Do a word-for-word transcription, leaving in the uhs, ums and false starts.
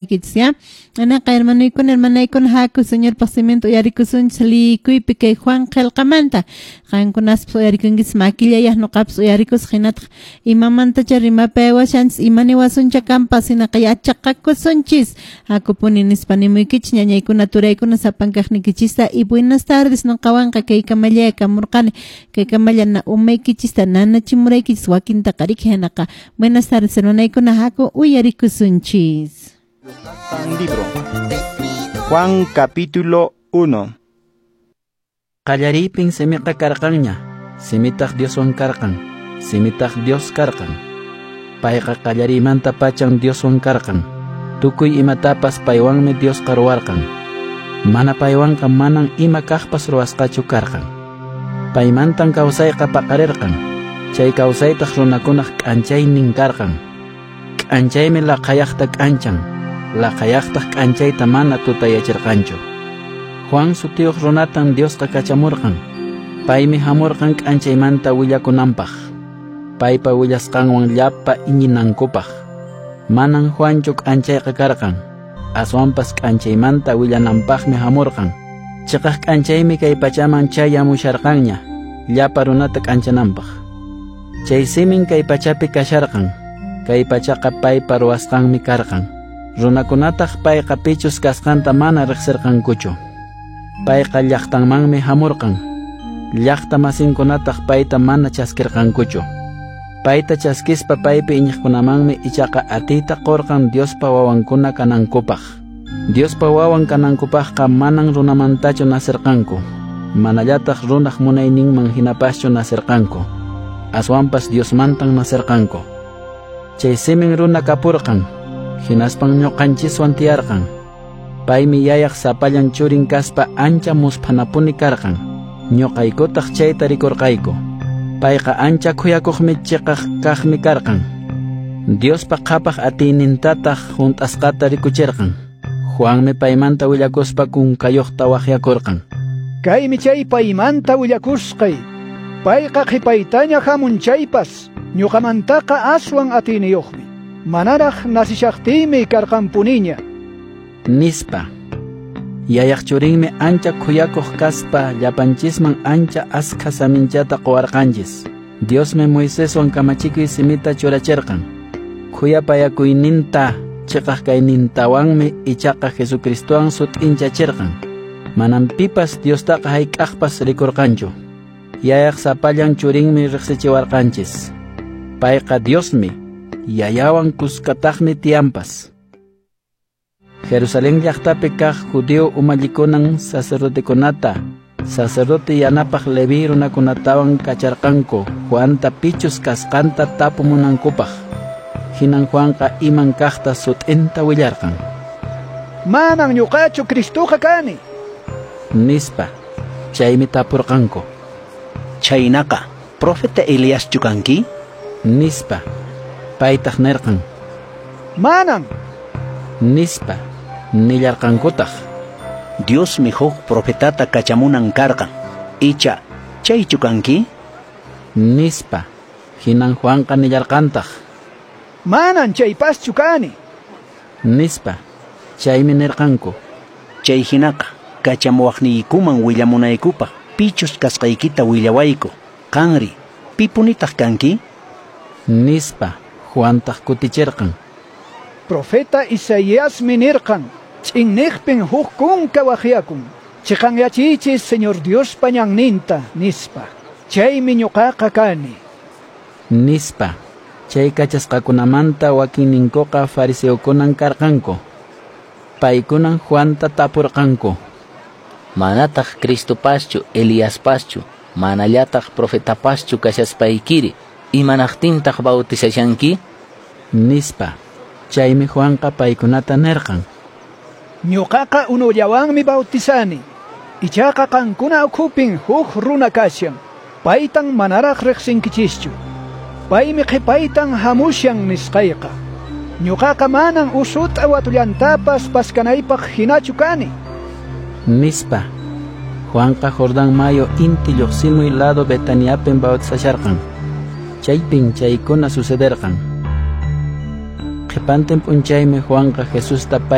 Ya, anaqa hermanoykuna hermanaykuna haku Señorpaq siminta uyarikusunchis liyikuypi kay Juan qillqamanta qankunaspas uyarikunkichis makillayaq nuqapas uyarikusaq hinataq imamantacha rimapaywashanchis ima niwasuncha kanpas hinaqa yachaqakusunchis hakupuni nispa nimuykichis ñañaykuna turaykuna sapankaqnikichista y buenas tardes nuqawanqa kay kamallaya kamurqani kay kamalla umaykichista nanachimuraykichis wakintaqa riki hinaqa buenas tardes hermanaykuna haku uyarikusunchis. Libro. Juan capítulo uno. Qallariypin simiqa karqanña, simitaq Dioswan karqan, simitaq Dios karqan. Payqa qallariymanta pachan Dioswan karqan. Tukuy imatapas paywanmi Diosqa ruwarqan. Mana paywanqa manan ima kaqpas ruwasqachu karqan. Paymantan kawsayqa paqarirqan. Chay kawsaytaq runakunaq k'anchaynin karqan. K'anchaymi laqhayaqta k'anchan. Laqhayaqtaq k'anchayta mana tutayachirqanchu. Juan sutiyuq runatan Diosqa kachamurqan. Paymi hamurqan k'anchaymanta willakunanpaq. Paypa willasqanwan llapa iñinankupaq. Manan Juanchu k'anchayqa karqan. Aswanpas k'anchaymanta willananpaqmi hamurqan. Chiqaq k'anchaymi kay pachaman chayamusharqanña, llapa runata k'anchananpaq. Chay simin kay pachapi kasharqan. Kay pachaqa paypa ruwasqanmi karqan. Runakunataq payqa pichus kasqanta mana riqsirqankuchu. Payqa llaqtanmanmi hamurqan. Llaqta masinkunataq payta mana chaskirqankuchu. Payta chaskispa paypi iñiqkunamanmi ichaqa atiyta qurqan Diospa wawankuna kanankupaq. Diospa wawan kanankupaqqa manan runamantachu nasirqanku. Manallataq runaq munayninman hinapaschu nasirqanku. Aswanpas Diosmantan nasirqanku. Chay simin runa kapurqan. Hinaspan ñuqanchiswan tiyarqan. Paymi yayaq sapallan churin kaspa ancha musphanapuni karqan. Ñuqaykutaq chayta rikurqayku. Payqa ancha khuyakuqmi chiqaq kaqmi karqan. Diospa qhapaq atiynintataq hunt'asqata rikuchirqan. Juanmi paymanta willakuspa kunkayuqta waqyakurqan. Kaymi chay paymanta willakusqay. Payqa qhipaytaña hamun chaypas ñuqamantaqa aswan atiyniyuqmi. Manaraq nasishaqtiymi karqanpuniña. Nispa. Yayaq churinmi ancha khuyakuq kaspa llapanchisman ancha askha saminchata quwarqanchis. Diosmi Moiseswan kamachikuy simita churachirqan. Khuyapayakuyninta chiqaq kaynintawanmi ichaqa Jesucristowan sut'inchachirqan. Manan pipas Diostaqa hayk'aqpas rikurqanchu. Yayaq sapallan churinmi riqsichiwarqanchis. Payqa Diosmi. Yayawan kuskataqmi tiyanpas. Jerusalén llaqtapi kaq judío umallikunan sacerdotekunata, sacerdote yanapaq Leví runakunatawan kacharqanku Juanta pichus kasqanta tapumunankupaq. Hinan Juanqa iman kaqta sut'inta willarqan. Manan ñuqachu Cristoqa kani, nispa. Chaymi tapurqanku. Chaynaqa, profeta Eliaschu kanki? Nispa. Paytaq nirqan. Manan, nispa. Nillarqankutaq. Diosmi huk profetata kachamunan karqan. Icha, chaychu kanki? Nispa. Hinan Juanqa nillarqantaq. Manan chaypaschu kani, nispa. Chaymi nirqanku. Chay hinaqa, kachamuwaqniykuman willamunaykupaq pichus kasqaykita willawayku. Qanri, pipunitaq kanki? Nispa. Juantaq kutichirqan. Profeta Isaíasmi nirqan, ch'inniqpin huk kunka waqyakun, chiqanyachichis Señor Diospa ñanninta, nispa. Chaymi ñuqaqa kani, nispa. Chay kachasqakunamanta wakinninkuqa fariseokunan karqanku. Paykunan Juanta tapurqanku. Manataq Cristopaschu, Eliaspaschu, manallataq profetapaschu kashaspaykiri, imanaqtintaq bautizashanki? Nispa. Chaymi Juanqa paykunata nirqan. Ñuqaqa unullawanmi bautizani. Ichaqa qankuna ukhupin huk runa kashan. Paytan manaraq riqsinkichischu. Paymi qhipaytan hamushan nisqayqa. Ñuqaqa manan usut'a watullantapas paskanaypaq hinachu kani, nispa. Juanqa Jordán mayu inti lluqsimuy lado Betaniapin bautizasharqan. Chaypin chaykuna sucederqan. Qhipantin p'unchaymi Juanqa Jesusta